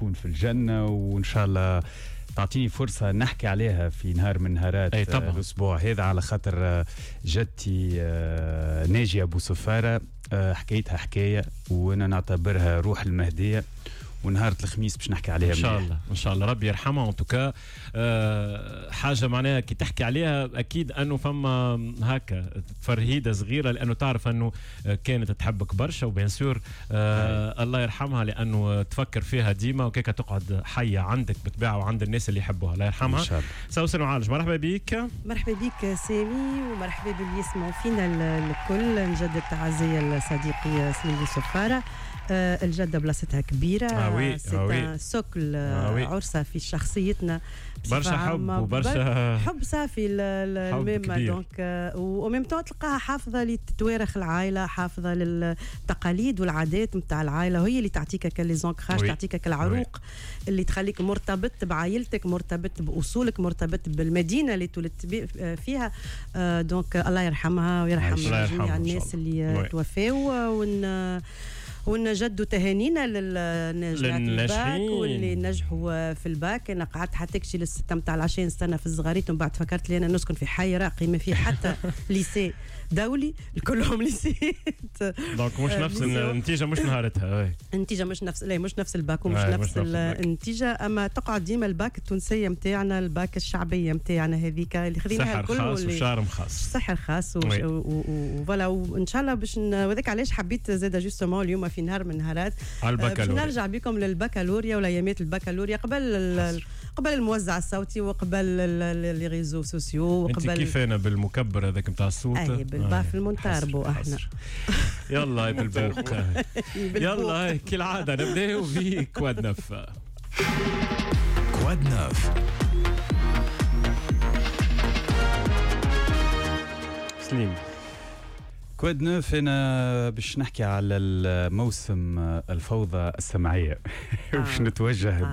تكون في الجنة، وان شاء الله تعطيني فرصة نحكي عليها في نهار من نهارات الأسبوع هذا، على خاطر جدتي ناجية أبو صفارة حكايتها حكاية، وأنا نعتبرها روح المهدية، ونهار الخميس باش نحكي عليها ان شاء الله. ان شاء الله ربي يرحمها. en tout cas حاجة معناها كي تحكي عليها اكيد انه فما هكا تفرهيده صغيرة، لانه تعرف انه كانت تحبك برشا، و bien sûr الله يرحمها لانه تفكر فيها ديما، وكيكا تقعد حيه عندك بالطبيعة وعند الناس اللي يحبوها. الله يرحمها. سوسن وعالج، مرحبا بك. مرحبا بك سامي، ومرحبا باللي يسمعوا فينا الكل. نجدد تعزية لصديقي سليم صفارة. الجدة بلاصتها كبيرة، c'est un socle عرسة في شخصيتنا، برشا حب وبرشا حب صافي الميمة. donc و même temps تلقاها حافظة لتواريخ العائلة، حافظة للتقاليد والعادات نتاع العائلة، وهي اللي تعطيك les ancrages، تعطيك العروق اللي تخليك مرتبط بعائلتك، مرتبط بأصولك، مرتبط بالمدينة اللي تولدت فيها. donc الله يرحمها ويرحم جميع الناس اللي توفاو، ونجدوا تهانينا للناجحات الباك واللي نجحوا في الباك. انا قعدت حتى كشي للستة متاع العشاء نستنى في الزغاريت، ومن بعد فكرت لي انا نسكن في حي راقي ما فيه حتى lycée دولي، كلهم lycée. donc مش نفس النتيجة، مش نهارتها النتيجة، مش نفس، لا مش نفس الباك ومش نفس النتيجة، اما تقعد ديما الباك التونسية نتاعنا، الباك الشعبية نتاعنا هذيك اللي خذيناها الكل، سحر خاص و charme خاص، سحر خاص و voilà. وان شاء الله باش وذاك علاش حبيت زاد justement اليوم في نهار من نهارات باش نرجع بكم للبكالوريا ولايامات البكالوريا، قبل الموزع الصوتي وقبل les réseaux sociaux وقبل. انت كيف انا بالمكبر هذاك نتاع الصوت؟ اي بال baffle المونتاربو احنا. يلا بالبوق. يلا كالعادة نبداو ب quoi de neuf. quoi de neuf. سليم، quoi de neuf انا باش نحكي على الموسم الفوضى السمعية. باش نتوجه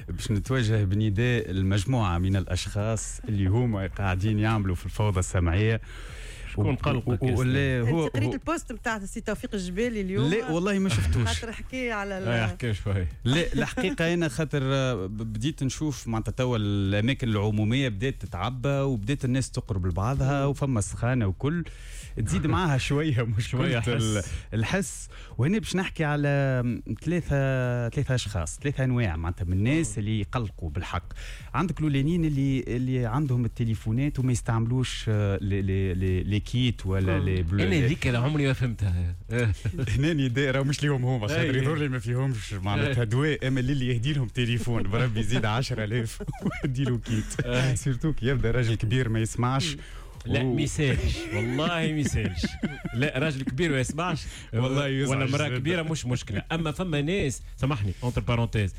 باش نتوجه بنداء المجموعة من الاشخاص اللي هما قاعدين يعملوا في الفوضى السمعية. شكون قلقك؟ ولا هو قريت ال post نتاع السي توفيق الجبالي اليوم؟ لا والله ما شفتوش، خاطر حكي على حكي شوي. لا الحقيقة انا خاطر بديت نشوف معناتها توا الاماكن العمومية بدات تتعبى، وبدات الناس تقرب لبعضها، وفما سخانه وكل تزيد معاها شوية مشكلة الحس. وهنا باش نحكي على ثلاثة اشخاص، ثلاثة انواع معناتها من الناس اللي يقلقوا بالحق. عندك الاولانيين اللي عندهم التليفونات وما يستعملوش les kits ولا les bleus. انا هذيك انا عمري ما فهمتها. هنا نداء راه مش ليهم هما، خاطر يظهر لي ما فيهمش معناتها دواء، اما اللي يهدي لهم تليفون بربي يزيد 10,000 ويدي له kit، surtout كي يبدا راجل كبير ما يسمعش. لا ميسالش والله ميسالش، لا راجل كبير ما يسمعش والله ولا مراة كبيرة مش مشكلة، اما فما ناس سامحني entre parenthèses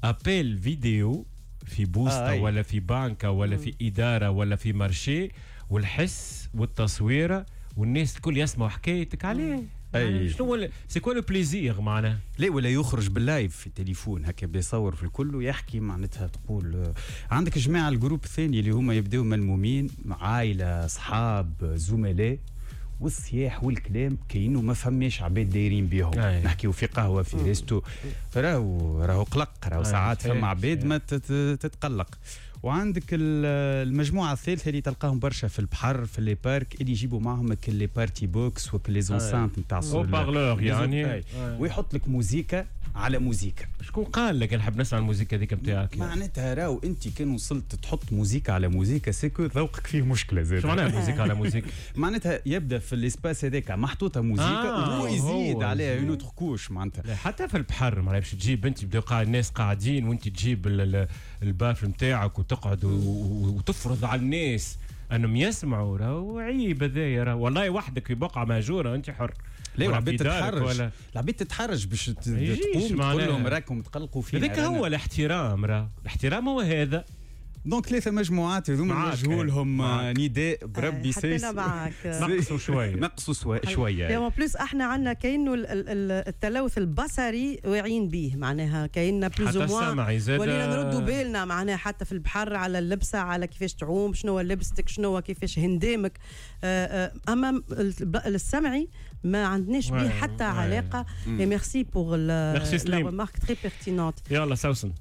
appel vidéo في بوسطه ولا في بنكه ولا في ادارة ولا في marché، والحس والتصويره والناس الكل يسمعوا حكايتك عليه. أي. شنو c'est quoi le plaisir معناها؟ لا ولا يخرج بال live في التليفون هكا بيصور في الكل ويحكي معناتها. تقول عندك جماعة ال groupe الثاني اللي هما يبداو ملمومين، عائلة، اصحاب، زملاء، والصياح والكلام كاينو ما فماش عباد دايرين بيهم. نحكيو في قهوة في resto، راهو قلق، راهو ساعات فما عباد ما تتقلق. وعندك المجموعة الثالثة اللي تلقاهم برشا في البحر في les parcs، اللي يجيبوا معهم les party box وكل les enceintes نتاع haut-parleurs يعني، ويحط لك موزيكا على موزيكا. شكون قال لك نحب نسمع الموزيكا هذيك نتاعك؟ معناتها راهو انت كان وصلت تحط موزيكا على موزيكا c'est que ذوقك فيه مشكلة زاد. شو معناها موزيكا على موزيكا؟ معناتها يبدا في l'espace هذاك محطوطة موزيكا وهو يزيد عليها une autre couche معناتها. حتى في البحر معناها باش تجيب انت بداو الناس قاعدين وانت تجيب ال baffle نتاعك وتقعد وتفرض على الناس انهم يسمعوا، راهو عيب هذايا. راهو والله وحدك في بقعة مهجورة انت حر. لا العباد تتحرج، العباد تتحرج باش تقوم تقول لهم راكم تقلقوا فينا. هذاك هو الاحترام، راه الاحترام هو هذا. donc ثلاثة مجموعات هذوما نوجهوا لهم نداء بربي سيس معاك. نقصوا شوية، نقصوا شوية. en plus احنا عندنا كاينه التلوث البصري واعيين به، معناها كايننا plus ou moins ولينا نردوا بالنا معناها حتى في البحر على اللبسه، على كيفاش تعوم، شنو لبستك، شنو كيفاش هندامك. اما السمعي ما عندناش به حتى علاقة. merci pour la remarque très pertinente. يلا سوسن.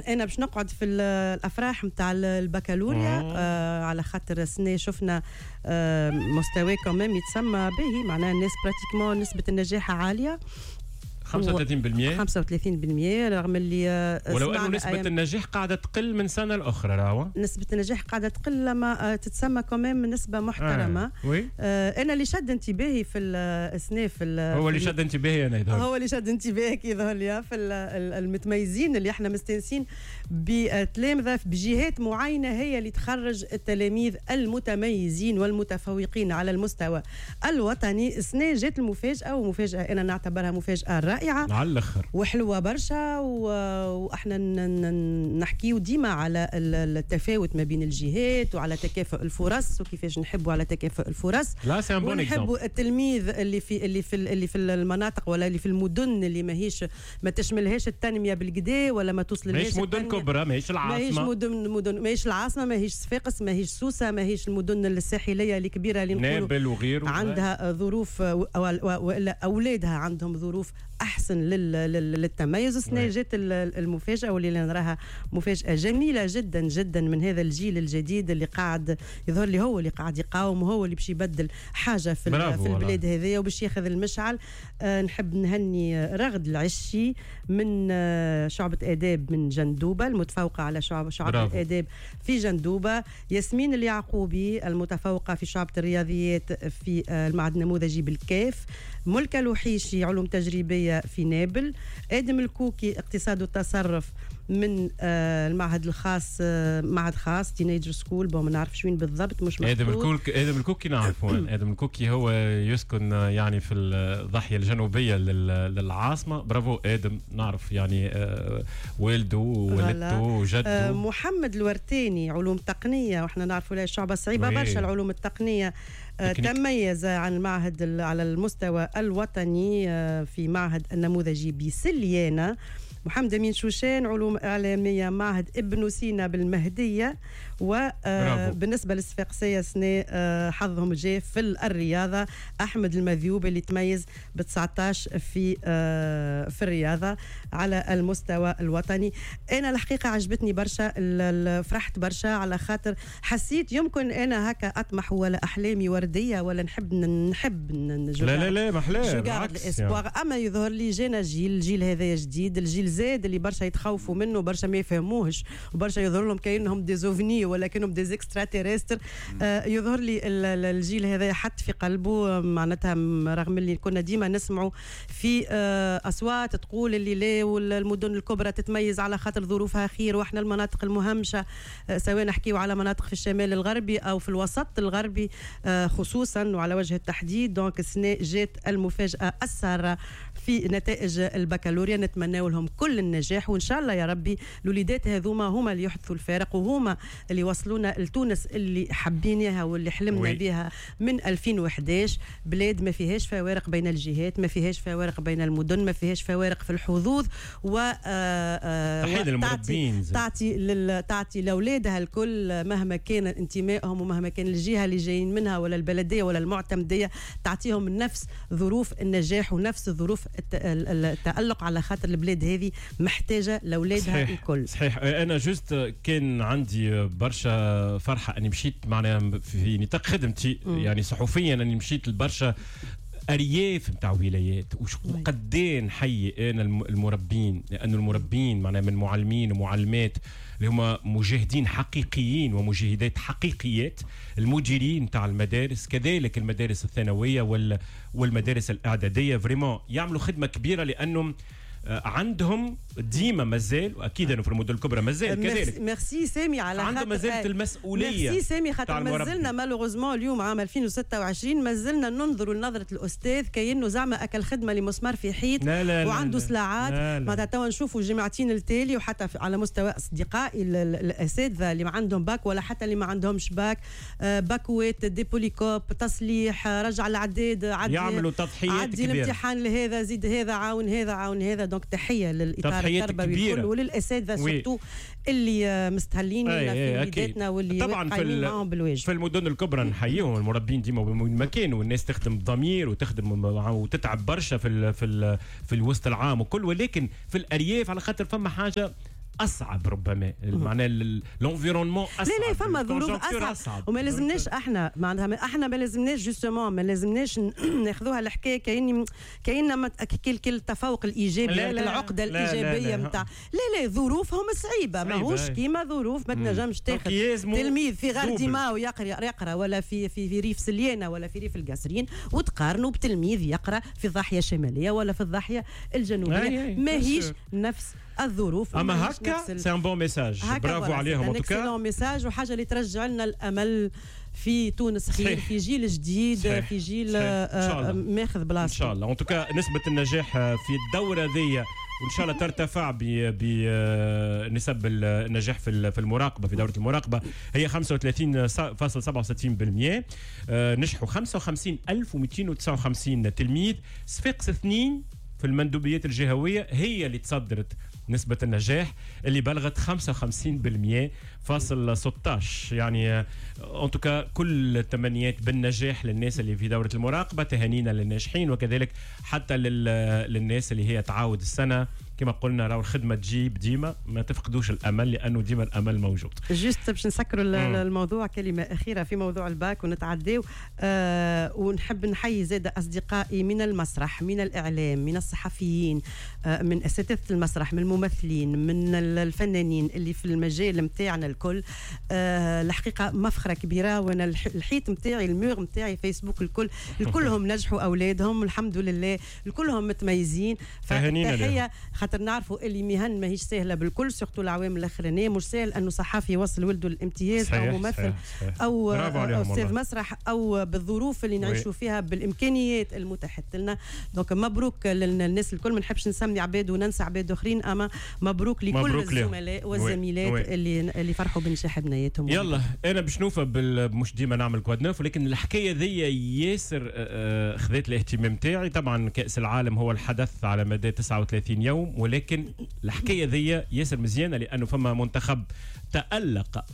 انا باش نقعد في الافراح نتاع البكالوريا على خاطر السنة شفنا مستوى quand même يتسمى باهي، معناها الناس pratiquement نسبه النجاح عالية 35%، 35%، رغم اللي ولو انه نسبه النجاح قاعدة تقل من سنة لاخرى. راهو نسبه النجاح قاعدة تقل لما تتسمى quand même نسبه محترمه. انا اللي شد انتباهي في السنة في هو اللي شد انتباهي انا يظهر، هو اللي شد انتباهك يظهر لي في المتميزين اللي احنا مستانسين بتلامذه بجهات معينة هي اللي تخرج التلاميذ المتميزين والمتفوقين على المستوى الوطني. السنة جات المفاجاة، ومفاجاه انا نعتبرها مفاجاة رائعة على الاخر وحلوه برشا. واحنا نحكيو ديما على التفاوت ما بين الجهات وعلى تكافؤ الفرص وكيفاش نحبوا على تكافؤ الفرص. لا c'est un bon ونحبوا التلميذ اللي في المناطق ولا اللي في المدن اللي ماهيش ما تشملهاش التنمية بالكدا ولا ما توصلهاش، ماهيش مدن كبرى، ماهيش العاصمة، ماهيش مدن، ماهيش العاصمة، ماهيش صفاقس، ماهيش سوسة، ماهيش المدن الساحلية الكبيرة اللي نقولوا نابل وغيره عندها ظروف والا اولادها عندهم ظروف احسن للتميز. السنة جات المفاجاة واللي نراها مفاجاة جميلة جدا جدا من هذا الجيل الجديد اللي قاعد يظهر لي هو اللي قاعد يقاوم وهو اللي باش يبدل حاجة في البلاد هذيا وباش ياخذ المشعل. نحب نهني رغد العشي من شعبه اداب من جندوبه، المتفوقة على شعبه الاداب في جندوبه، ياسمين اليعقوبي المتفوقة في شعبه الرياضيات في المعهد النموذجي بالكاف، ملكه الوحيشي علوم تجريبية في نابل، آدم الكوكي اقتصاد والتصرف من المعهد الخاص، معهد خاص teenager school، bon ما نعرفش وين بالضبط مش مكتوب. آدم الكوكي نعرفه. آدم الكوكي هو يسكن يعني في الضاحية الجنوبية للعاصمة. برافو آدم، نعرف يعني والده ووالدته وجده. محمد الورتاني علوم تقنية، واحنا نعرفوا لها الشعبة صعيبة برشا العلوم التقنية. تميز عن المعهد على المستوى الوطني في معهد النموذجي بسليانة. محمد أمين شوشان علوم إعلامية معهد ابن سينا بالمهدية. وبالنسبة للصفاقسية سنة حظهم جاء في الرياضة أحمد المذيوب اللي تميز ب 19 في الرياضة على المستوى الوطني. أنا الحقيقة عجبتني برشا، فرحت برشا على خاطر حسيت يمكن أنا هكا أطمح ولا أحلامي وردية ولا نحب لا لا لا محلاه يعني. أما يظهر لي جانا جيل، الجيل هذا جديد، الجيل زاد اللي برشا يتخوفوا منه، برشا ما يفهموهش، وبرشا يظهر لهم كأنهم des ovnis ولا كأنهم des extraterrestres. يظهر لي الجيل هذا حط في قلبه معناتها، رغم اللي كنا ديما نسمعوا في أصوات تقول اللي لا والمدن الكبرى تتميز على خاطر ظروفها خير، واحنا المناطق المهمشة سواء نحكيو على مناطق في الشمال الغربي أو في الوسط الغربي خصوصا وعلى وجه التحديد. donc السنة جات المفاجأة السارة في نتائج البكالوريا، نتمنى لهم كل النجاح وإن شاء الله يا ربي الوليدات هذوما هما اللي يحدثوا الفارق وهما اللي وصلونا لتونس اللي حبيناها واللي حلمنا بها من 2011. بلاد ما فيهاش فوارق بين الجهات، ما فيهاش فوارق بين المدن، ما فيهاش فوارق في الحظوظ، و تعطي لاولادها الكل مهما كان انتمائهم ومهما كان الجهة اللي جايين منها ولا البلدية ولا المعتمديه، تعطيهم نفس ظروف النجاح ونفس ظروف التألق على خاطر البلاد هذه محتاجه لاولادها الكل. صحيح. انا juste كان عندي برشا فرحه اني مشيت معناها في نطاق خدمتي يعني صحفيا، اني مشيت لبرشا ارياف نتاع ولايات وقدين نحيي انا المربين، لانه المربين معناها من معلمين ومعلمات اللي هما مجاهدين حقيقيين ومجاهدات حقيقيات، المديرين نتاع المدارس كذلك المدارس الثانوية والمدارس الاعدادية، vraiment يعملوا خدمة كبيرة، لانهم عندهم ديما مازال، واكيد انه في المدن الكبرى مازال كذلك. ميرسي سامي على عندهم مازالت المسؤوليه. ميرسي سامي، خاطر مازلنا malheureusement اليوم عام 2026 مازلنا ننظروا لنظره الاستاذ كأنه زعما اكل خدمة لمسمار في حيط وعنده سلاعات. معناتها توا نشوفوا جمعتين التالي، وحتى على مستوى اصدقائي الاساتذة اللي ما عندهم باك ولا حتى اللي ما عندهمش باك، باكوات des polycopes، تصليح، رجع العداد، عدي، يعملوا تضحيات عدي كبيرة. الامتحان لهذا، زيد هذا، عاون هذا، عاون هذا. donc تحية للاطار التربوي الكل وللاساتذه surtout اللي مستهلين في وليداتنا واللي طبعا معاهم بالواجب. في المدن الكبرى نحييهم المربين ديما مكان، والناس تخدم بضمير وتخدم وتتعب برشا في الوسط العام وكل، ولكن في الارياف على خاطر فما حاجة اصعب ربما، معناها l'environnement اصعب. لا لا، فما ظروف اصعب، وما لازمناش احنا، معناتها احنا ما لازمناش justement ما لازمناش ناخذوها الحكاية كاين كل التفوق الايجابي، لا لا العقدة الايجابية نتاع لا لا، ظروفهم صعيبة، ماهوش كيما ظروف ما تنجمش تاخذ تلميذ في غارديما ويقرا ولا في في في ريف سليانه ولا في ريف القصرين وتقارنوا بتلميذ يقرا في الضاحية الشمالية ولا في الضاحية الجنوبيه، ماهيش نفس الظروف. اما هكا c'est un bon message، bravo عليهم. en tout cas message وحاجه اللي ترجع لنا الامل في تونس خير، في جيل جديد، صحيح. في جيل ماخذ بلاصته ان شاء الله. en tout cas نسبه النجاح في الدورة ذي وان شاء الله ترتفع بنسب النجاح في المراقبه، في دوره المراقبة هي 35.67%. نجحوا 55259 تلميذ. صفاقس 2 في المندوبيات الجهوية هي اللي تصدرت نسبة النجاح اللي بلغت 55.16. يعني en tout cas كل التمنيات بالنجاح للناس اللي في دورة المراقبة، تهانينا للناجحين وكذلك حتى للناس اللي هي تعاود السنة. كما قلنا راهو الخدمة تجيب ديما، ما تفقدوش الأمل لأنه ديما الأمل موجود. juste باش نسكروا الموضوع، كلمة أخيرة في موضوع الباك ونتعداو. ونحب نحيي زاد أصدقائي من المسرح، من الإعلام، من الصحفيين، من أساتذة المسرح، من الممثلين، من الفنانين اللي في المجال متاعنا الكل. الحقيقة مفخرة كبيرة، وأنا الحيط متاعي، ال mur متاعي فيسبوك الكل، الكلهم نجحوا أولادهم الحمد لله، الكلهم متميزين. فتحية خاطر نعرفوا اللي مهن ماهيش سهلة بالكل، surtout العوام الاخرانية مش سهل انه صحفي يوصل ولده الامتياز او ممثل، صحيح. او استاذ مسرح، او بالظروف اللي نعيشوا فيها بالامكانيات المتاحة لنا. donc مبروك للناس الكل، ما نحبش نسمي عباد وننسى عباد اخرين، اما مبروك لكل مبروك الزملاء والزميلات اللي فرحوا بنجاح بنياتهم. يلا انا باش نوفى مش ديما نعمل quoi de neuf، ولكن الحكاية ذي ياسر خذت الاهتمام تاعي. طبعا كاس العالم هو الحدث على مدى 39 يوم، ولكن الحكاية ذي ياسر مزيانه لانه فما منتخب تألق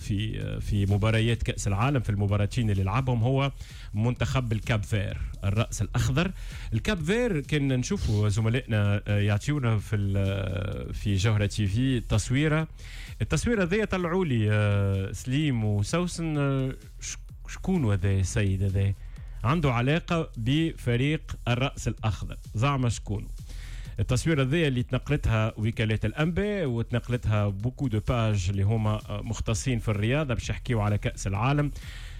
في مباريات كأس العالم، في المباراتين اللي لعبهم هو منتخب الكاب فير، الرأس الأخضر. الكاب فير كان نشوفوا زملائنا يعطيونا في جوهرة تي في التصويرة ذي طلعوا لي سليم وسوسن، شكون هذا السيد هذا؟ عنده علاقة بفريق الرأس الأخضر، زعما شكون؟ التصويرة ذي اللي تنقلتها وكالات الأنباء وتنقلتها beaucoup de pages اللي هما مختصين في الرياضة باش يحكيو على كأس العالم.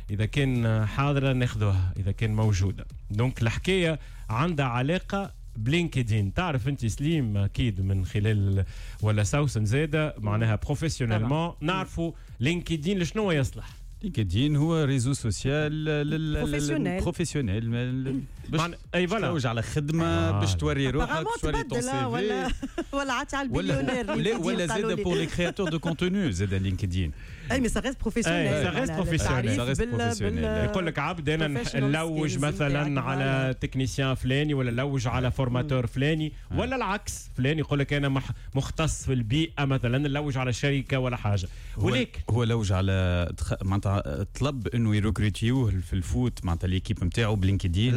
إذا كان حاضرة ناخذوها، إذا كان موجودة. donc الحكاية عندها علاقة ب LinkedIn. تعرف أنت سليم أكيد من خلال ولا سوسن زادة معناها professionnellement نعرفوا LinkedIn لشنو يصلح. LinkedIn هو réseau social professionnel باش تلوج على خدمة، باش توري روحك، باش توري ton CV، ولا عاد على البليونير، ولا زاد pour les créateurs de contenu زاد LinkedIn. اي mais ça reste professionnel، ça reste professionnel. يقول لك عبد انا نلوج مثلا على technicien فلاني، ولا نلوج على formateur فلاني، ولا العكس، فلان يقول لك انا مختص في البيئة مثلا، نلوج على شركة ولا حاجة. ولكن هو لوج على معناتها طلب انه يروكريتيوه في ال foot معناتها l'équipe نتاعو ب LinkedIn.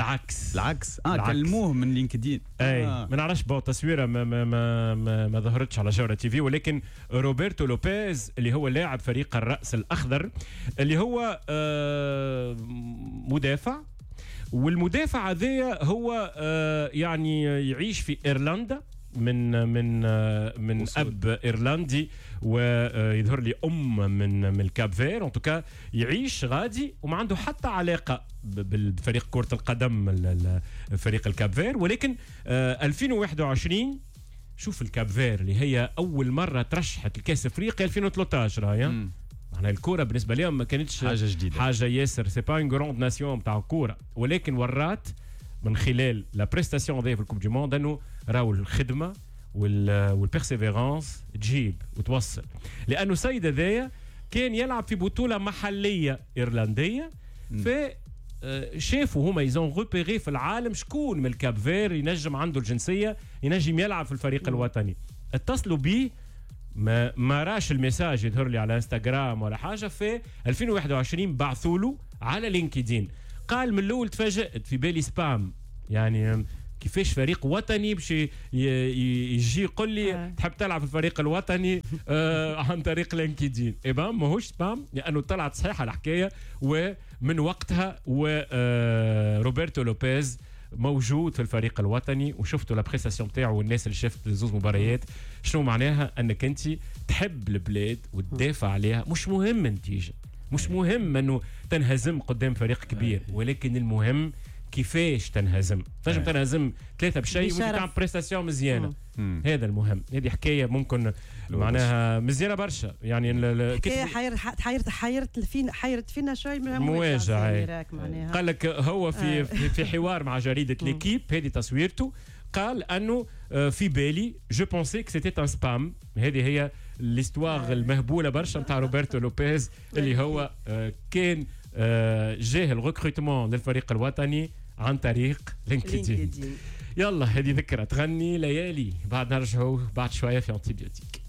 العكس كلموه من LinkedIn. اي ما نعرفش bon تصويره ما ما ما, ما, ما ظهرتش على جوهرة تي في، ولكن روبرتو لوبيز اللي هو لاعب فريق الرأس الأخضر اللي هو مدافع، والمدافع هذا هو يعني يعيش في إيرلندا من من من اب ايرلندي ويظهر لي ام من الكاب فير. en tout cas يعيش غادي وما عنده حتى علاقة بالفريق كره القدم فريق الكاب فير، ولكن 2021 شوف ال Cap-Vert اللي هي اول مرة ترشحت لكاس افريقيا 2013 راهي. معناها الكورة بالنسبة لهم ما كانتش حاجة جديده، حاجة ياسر، c'est pas une grande nation تاع كوره، ولكن ورات من خلال la prestation هذه في ال Coupe du Monde انه راهو الخدمة وال persévérance تجيب وتوصل. لانه السيد هذايا كان يلعب في بطوله محليه ايرلنديه، ف شافوا هما ils ont repéré في العالم شكون من ال Cap-Vert ينجم عنده الجنسية ينجم يلعب في الفريق الوطني. اتصلوا بيه، ما راش ال message يظهر لي على انستغرام ولا حاجه. في 2021 بعثوا له على LinkedIn. قال من الاول تفاجات، في بالي spam، يعني كيفاش فريق وطني باش يجي يقول لي تحب تلعب في الفريق الوطني عن طريق LinkedIn؟ eh ben ماهوش spam، لانه طلعت صحيحه الحكايه. ومن وقتها وروبرتو لوبيز موجود في الفريق الوطني، وشفتوا la prestation تاعو، والناس اللي شافت زوز مباريات شنو معناها انك انت تحب البلاد وتدافع عليها. مش مهم النتيجه، مش مهم انه تنهزم قدام فريق كبير، ولكن المهم كيفاش تنهزم. تنجم تنهزم 3 بشيء وانت تعمل prestation مزيانه. هذا المهم. هذه حكاية ممكن معناها مزيانه برشا. يعني حكاية حيرت حيرت فينا، حيرت فينا شوي من مواجع. قال لك هو في حوار مع جريدة L'Équipe، هذه تصويرته، قال انه في بالي je pensais que c'était un spam. هذه هي l'histoire المهبوله برشا نتاع روبرتو لوبيز اللي هو كان جاه ال recrutement للفريق الوطني عن طريق LinkedIn. يلا، هذه ذكرى تغني ليالي، بعد نرجعوا بعد شوية في antibiotique.